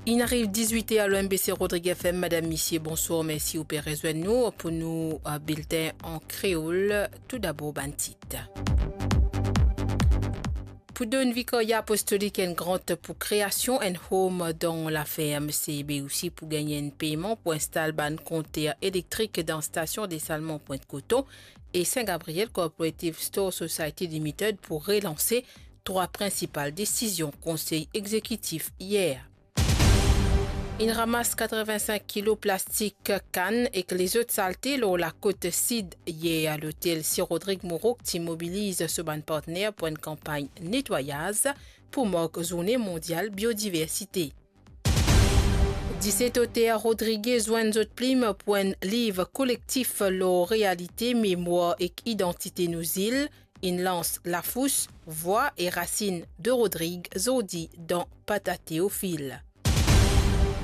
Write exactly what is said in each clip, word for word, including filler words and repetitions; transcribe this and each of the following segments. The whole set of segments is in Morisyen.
Inn ariv dizwit er lor M B C Rodrig F M. Madam, misie, bonswar, mersi ou pe rezwenn nou pou nou, eh, bilten an kreol. Toudabor, bann tit. Pou donn Vikarya Apostolik enn grant pou kreasion enn home dan laferm, se be osi pou gagn enn peyman pou instal bann konter elektrik dan stasion desalman Pointe Coton, e Saint Gabriel Cooperative Store Society Limited pou relanse. Trwa prinsipal desizion konsey egzekitif yer. Inn ramas katreven-sink kilo plastik, kann ek lezot salte lor lakot sid yer. Lotel Sir Rodrig Moreau ti mobiliz so bann partner pou enn kanpagn netwayaz pou mark Zourne Mondial Biodiversite. Diset oter rodrige zwenn zot plim pou enn liv kolektif lor realite, memwar ek idantite nou zil. Inn lans Lafous, Vwa e Rasinn de Rodrig zordi dan Pata Teofil.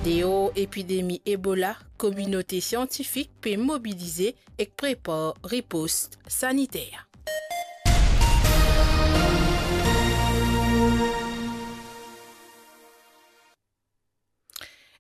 Deor epidemi Ebola, kominote siantifik pe mobilize ek prepar ripost saniter.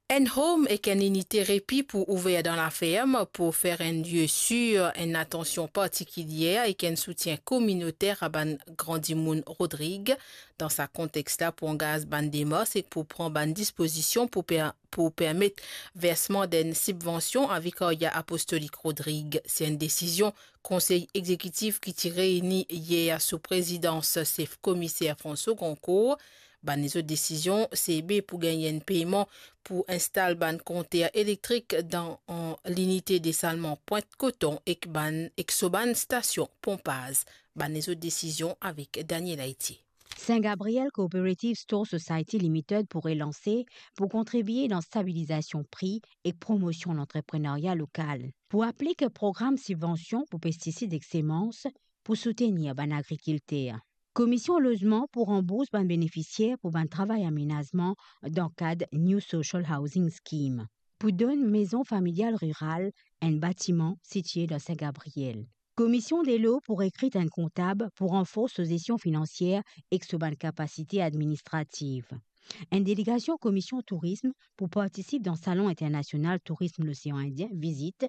Enn home ek enn inite repi pou ouver dan laferm pou fer enn lie sir, enn atansion partikilie ek enn soutien kominoter a bann gran dimoun Rodrig. Dan sa kontex la, pou angaz bann demars ek pou pran bann dispozision pou per-, pou permet versman d'enn sibvansion a Vikarya Apostolik Rodrig. Se enn desizion konsey egzekitif ki ti reyni yer sou prezidans sef komiser François Goncourt. Bann lezot desizion, se be pou gagn enn peyman pou instal bann konter elektrik dan, an, linite desalman Pointe Coton ek bann, ek so bann stasion ponpaz. Bann lezot desizion avek Daniel Haiti. Saint Gabriel Cooperative Store Society Limited pou relanse, pou kontribie dan stabilizasion pri ek promosion lantreprenarya lokal. Pou aplik program sibvansion pou pestisid ek semans pou soutenir bann agrikilter. Komision Lozman pou ranbours bann benefisier pou bann travay amenazman dan kad New Social Housing Scheme, pou donn Mezon Familial Riral enn batiman sitie dan Saint Gabriel. Komision Delo pou rekrit enn kontab pou ranfors so zesion finansier ek so bann kapasite administrativ. Enn delegasion Komision Tourism pou partisip dan Salon Internasional Tourism Losean Indien, VISIT,